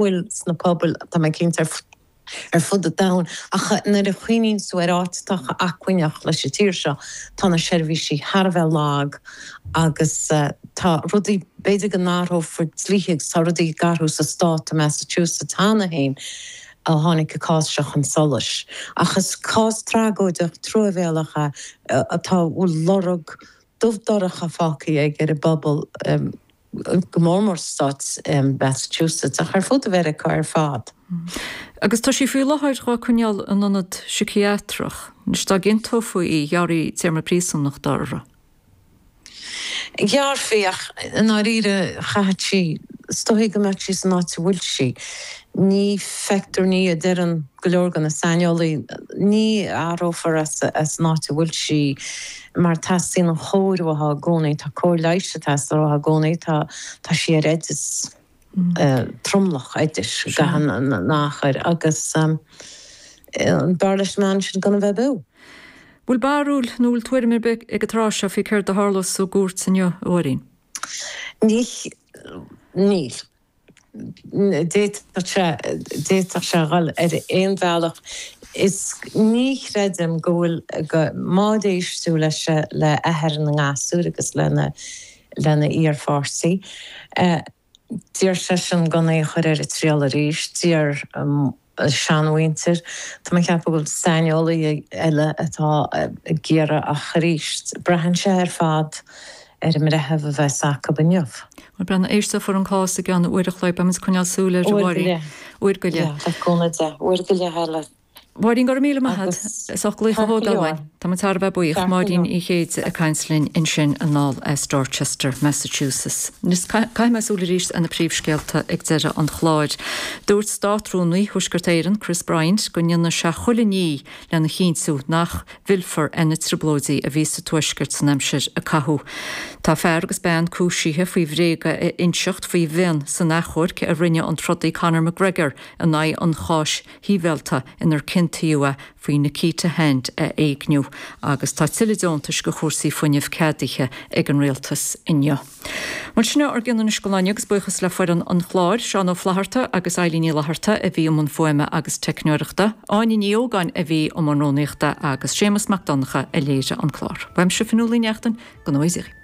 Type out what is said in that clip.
bhfuil sna pobail, tá mé cinnte, ar fud an domhain, ach nuair a chuimhníonn tú ar áit atá chomh acmhainneach leis an tír seo, tá na seirbhísí thar a bheith lag agus tá rudaí, b'fhéidir go n-athrófar dlíthe agus tá rudaí ag athrú sa stát i Massachusetts cheana féin ó tháinig an cás seo chun solais. Ach is cás tragóideach, truamhéalach é atá, a bhfuil lorg dubh dorcha fágtha aige ar an bpobal. go mór mór sa stát Massachusetts, ach ar fud Mheiriceá ar fad. Agus tá sí faoi láthair dhá coinneáil in ionad siciathrach. Anois dá gciontófaí í, ghearrfaí téarma príosúnachta uirthi. Ghearrfaí, ach i ndáiríre chaithfeadh sí, is dóichí go mbeadh sí san áit a bhfuil sí. Ní feictear, ní a deireann go leor de na saineolaí, ní athrófar as an áit a bhfuil sí mar teastaíonn an chóir uaithi i gcónaí, tá cóir leighis ag teastáil uaithi i gcónaí, tá tá sí ar oideas, tromlach oidis i gcaitheamh an achair agus b'fhearr leis an mbean sin gan a bheith beo. Bhfuil barúil nó bhfuil tuairim ar bith ag an tráth seo faoi céard a tharlós sa gcúirt inniu, a Mháirín? Níl. D'fhéadfadh sé, d'fhéadfadh sé a dhul ar aon bhealach. Is ní chreidim go bhfuil, go, má d'éisteadh leis, le athair na ngasúr agus lena, lena iarpháirtí, d'iarr seisean gan é a chur ar an triail arís, d'iarr a seanmhuintir. Tá mé ag ceapadh go bhfuil saineolaí eile atá ag iarraidh ach arís, braitheann sé ar fad ar an mbreitheamh a bheas acu inniu. Bhuel, breathnaigh, éisteofar an cás i gceann uair a chloig. Beidh muid ag coinneáil súil air, a Mháirín. Uair go leith. Le cúnamh Dé. Uair go leith eile. Mháirín, go raibh míle maith agat as ucht glaoch a thógáil uainn. Tá muid thar a bheith buíoch. Máirín Uí Chéide ag caint linn ansin anall as Dorchester, Massachusetts. Anois caithfidh mé súil arís ar na príomhscéalta ag deireadh an chláir. Dúirt Státrúnaí Thuaisceart Éireann, Chris Bryant, go ndéanfaidh sé chuile ní lena chinntiú nach bhfillfear ar na trioblóidí a bhí sa Tuaisceart san aimsir a caitheadh. Tá fear agus bean cúisithe faoi bhréaga a inseacht faoi mhionn san achomharc a rinne an trodaí Conor McGregor in aghaidh an cháis shibhialta inar ciontaíodh é faoi Nikita Hand a éigniú agus tá tuilleadh deontais do chúrsaí fuinnimh ceadaithe ag an Rialtas inniu. Bhuel, sin é ár gcion anois don lá inniu agus buíochas le foireann an chláir, Seán Ó Flatharta agus Eilín Ní Fhlatharta a bhí i mbun fuaime agus teicneoireachta, Áine Ní Ógáin a bhí i mbun rúnaíochta agus Séamus Mac Donncha a léirigh an clár. Uaimse Fionnuala Ní Neachtain, go ngnóthaí Dia dhaoibh.